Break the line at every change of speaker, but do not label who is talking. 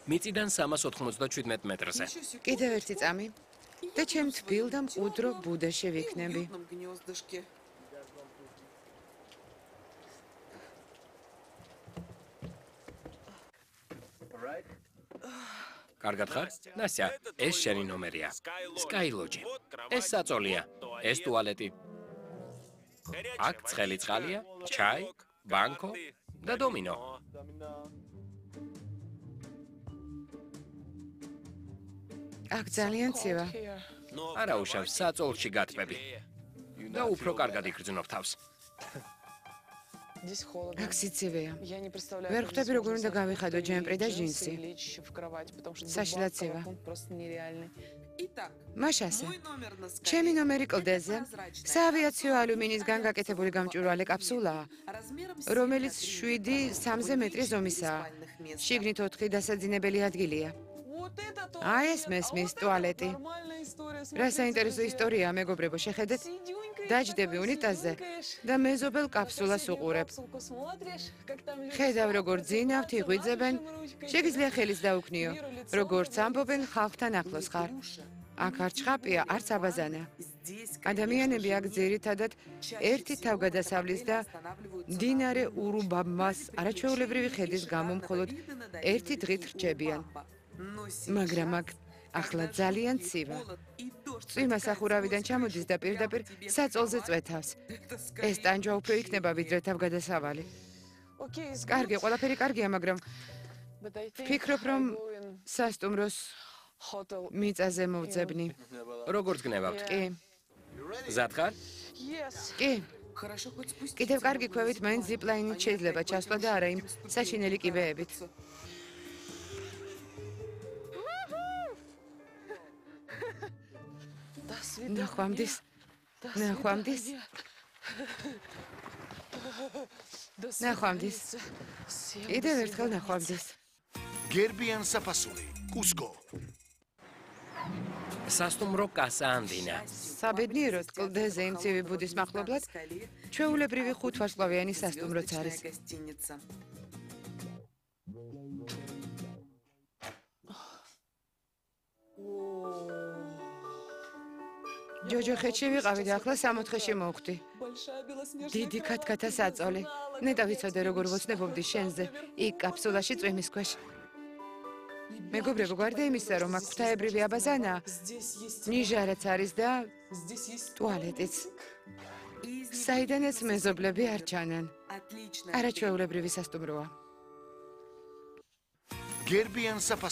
მიწიდან 397 მეტრზე.
კიდევ ერთი წამი და ჩემ თბილ და მყუდრო ბუდეში ვიქნები.
კარგად ხარ? ნასია, ეს შენი ნომერია. Sky Lodge. ეს საწოლია, ეს ტუალეტი. აქ ცხელი წყალია, ჩაი, ბანკო და დომინო.
აქ ძალიან ცივა.
არა უშავს საწოლში გატბები. და უფრო კარგად იგრძნობ თავს.
აქ სიცივეა. ვერ ხვდები როგორ უნდა გავიხადო ჯემპრი და ჯინსი. საშინლად ცივა. მაშასე, ჩემი ნომერი კლდეზე საავიაციო ალუმინისგან გაკეთებული გამჭვირვალე კაფსულაა, რომელიც 7-3 მეტრი ზომისაა. შიგნით 4 დასაძინებელი ადგილია. აი ეს მესმის ტუალეტი. რა საინტერესო ისტორიაა, მეგობრებო, შეხედეთ. დაჯდები უნიტაზზე და მეზობელ კაფსულას უყურებ. ხედავ როგორ ძინავთ, იღვიძებენ, შეგიძლია ხელის დაუქნიო, როგორც ამბობენ ხალხთან ახლოს ხარ. აქ არ ჩხაპია, არც აბაზანა. ადამიანები აქ ძირითადად ერთი თავგადასავლის და მდინარე ურუბამას არაჩვეულებრივი ხედის გამო მხოლოდ ერთი დღით რჩებიან. მაგრამ აქ ახლა ძალიან ცივა. წვიმა სახურავიდან ჩამოდის და პირდაპირ საწოლზე წვეთავს. ეს ტანჯვა უფრო იქნება ვიდრე თავგადასავალი. კარგი, ყველაფერი კარგია, მაგრამ ვფიქრობ, რომ სასტუმროს მიწაზე მოვძებნი.
როგორც გნებავთ?
კი.
მზად ხარ?
კი. კიდევ კარგი ქვევით მაინც ზიპლაინით შეიძლება ჩასვლა და არა იმ საშინელი კიბეებით. ნახვამდის. კიდევ ერთხელ ნახვამდის.
გერბიან საფასური, კუსკო.
სასტუმრო კასა ანდინა.
საბედნიეროდ კლდეზე იმ ცივი ბუდის მახლობლად ჩვეულებრივი 5 ვარსკვლავიანი სასტუმროც არის. ჯოჯოხეთში ვიყავი და ახლა 64-ში მოვხვდი. დიდი ქათქათა საწოლი. ნეტა ვიცოდე როგორ ვოცნებობდი შენზე, იქ კაფსულაში წვიმის ქვეშ. მეგობრებო, გარდა იმისა, რომ აქ ღვთაებრივი აბაზანაა, ნიჟარაც არის და ტუალეტიც. საიდანაც მეზობლები არ ჩანან. არაჩვეულებრივი სასტუმროა.
გერბიან საფასური.